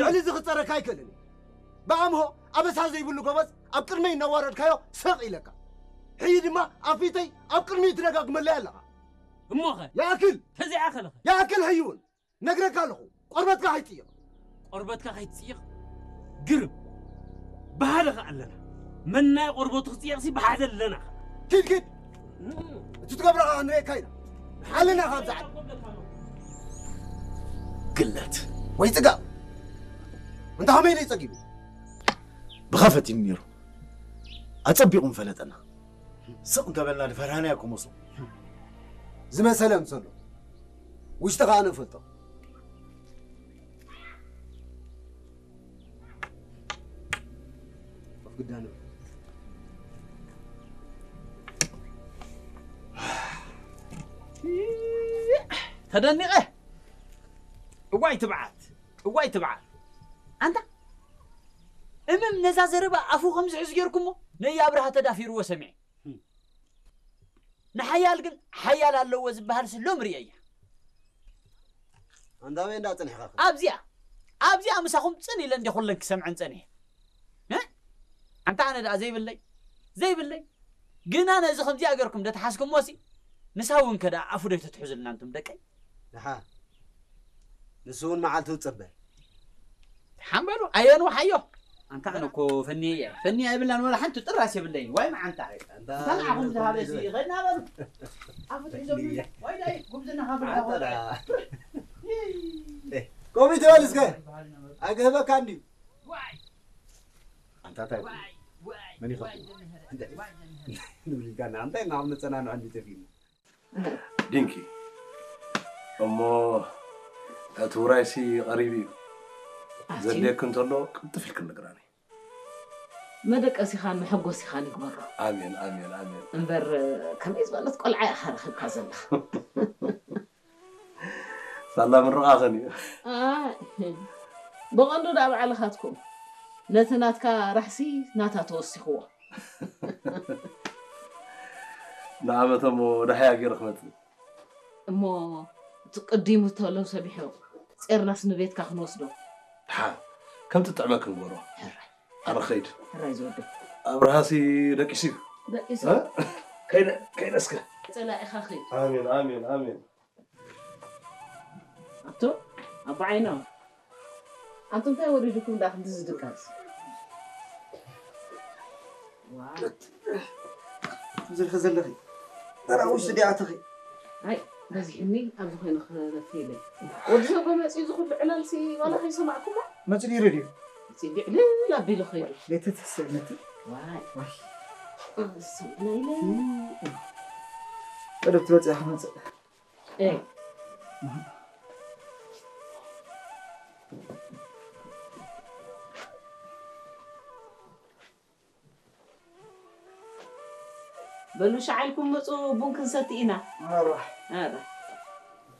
ልዕሊ እዚ ክጸረካ ኣይክእልን እየ። ብኣምሆ ኣበሳ ዘይብሉ ጎበዝ ኣብ ቅድመይ እናዋረድካዮ ስቕ ኢለካ። ሕጂ ድማ ኣብ ፊተይ ኣብ ቅድሚኡ ትደጋግመለይ ኣለኻ። እሞኸ? ይኣክል! ተዘይኣኸለኸ? ይኣክል ሕጂ እውን! ነግረካ ኣለኹ፣ ቆርበትካ ከይትጽይቕ። ቆርበትካ ከይትጽይቕ? ግርም! ብሓደ ከኣ ኣለና። መናይ ቆርበቱ ክጽየቕሲ ብሓደ ኣለና። ኪድ፣ ኪድ! እቲ ትገብሮ ከኣ ክንርእየካ ኢና። ሓልና ካብዛ ዓዲ። ግለት። ወይ ጽጋብ! እንተ ከመይ ኢሉ እዩ ጸጊቡ? ብኻ ፈቲኑ ነይሩ። ኣጸቢቑ ምፈለጠና። ስቕ እንተበልና ድፈርሃናዮ ክመስሎ። ዝመሰለ ምሰሎ። ውሽጢ ከኣ ንፈልጦ። ኮፍ ግዳ ንብል። ተደኒቐ። እዋይ ትብዓት፣ እዋይ ትብዓት። ኣንታ እምም ነዛ ዘረባ ኣፉ ከም ዝሕዝ ጌርኩሞ ነይ ኣብርሃ ተዳፊርዎ ሰሚዐ። ንሓያል ግን ሓያል ኣለዎ ዝበሃል ስሎም ርእየያ። ኣንታ ኣበይ እንዳ ጽኒሕኻ? ኣብዚኣ፣ ኣብዚኣ ምሳኹም ጽን ኢለ እንደ ኩለን ክሰምዐን ጸኒሐ። እ? ኣንታ ኣነ ደኣ ዘይብለይ፣ ዘይብለይ። ግና ነዚ ከምዚኣ ገርኩም ዶ ተሓዝኩሞሲ? ንሳ እውን ከ ደኣ ኣፉ ዶ ተትሕዙልና እንቱም ደቀይ? ደሓ። ንሱ እውን መዓልቱ ዝጸበ። ሓምበሉ ኣየኑ ሓዮ። ኣንታ ኣነ እኮ ፈንየ እየ። ፈንየ ኣይብላን ወላ ሓንቲ ጥራስ የብለይን። ዋይ መዓንታ። ኣንታ እታ ንዓኹም ዝሃበ እዚ ኸድና በሉ። ኣፉ ትሕዞም። ዋይ ዳይ ጉብዝና ሃብላ። ኣንታ ዳ። ኤ፣ ኮሚቴ በል እስከ። ኣይክህበካ እንድዩ። ዋይ። ኣንታ እንታይ? ዋይ፣ ዋይ፣ መን ይኸፍት? ዋይ ዘምህረ፣ እንታይ? ዋይ ዘምህረ። ንብልካ ንዓንታይ እናመጸና ንዕንዲ ተፊና። ዲንኪ፣ እሞ እቲ ውራይሲ ቀሪቡ እዩ። ኣትዩ። ዘድልየኪ እንተሎ ቅልጥፍ ኢልኪ ንገራኒ። መደቀሲኻን መሐጎሲኻን ይግበሮ። ኣሜን፣ ኣሜን፣ ኣሜን። እምበር፣ ከመይ ዝበለት ቆልዓ ኢኻ ረኺብካ ዘለኻ? ሳላ ምርቓኸን እዩ። ኣይ፣ ብቐንዱ ደኣ ባዕልኻትኩም ነቲ ናትካ ራሕሲ ናታ ተወሲኽዎ። ንዓመተ እሞ ደሓያ ገይረ ክመጽእ። እሞ እቲ ቅዲሙ ተሎ ሰቢሑ ጼርናስ ንቤትካ ክንወስዶ። ደሓ፣ ከም ትጥዕመኪ ንግበሮ። ሕራይ። ኣነ ክኸይድ። ሕራይ ዝወደይ። ኣብርሃሲ ደቂሱ እዩ። ደቂሱ። እ? ከይደ፣ ከይደ እስከ። ጸላኢኻ ኸይድ። ኣሜን፣ ኣሜን፣ ኣሜን። ኣቶ ኣቦ ዓይኖም፣ ኣንቱም እንታይ ወሪድኩም ደኣ ክንዲ ዝድቀስ? ዋው። ትብዝርኺ ዘለኺ ተራ ውሽጢ ዲኣ ኣተኺ? ኣይ፣ በዚሕኒ ኣብዚ ኮይኑ ክረፊ ኢለ። ወዲ ሰብ መጺኡ እዚ ኩሉ ዕላልሲ ዋላ ከይሰማዕኩሞ? መጺኡ ነይሩ ድዩ? መጺኡ ዕልል ኣቢሉ ኸይዱ። ቤት ተስእነቲ? ዋይ። ዋይ። ኣሰምዕና ኢለ። ቀደም ትመጽእ ኢኻ ክመጽእ። ኤ። በሉ ሻዕ ኢልኩም ምጹ፣ ቡን ክንሰቲ ኢና። ኣረ። ኣረ።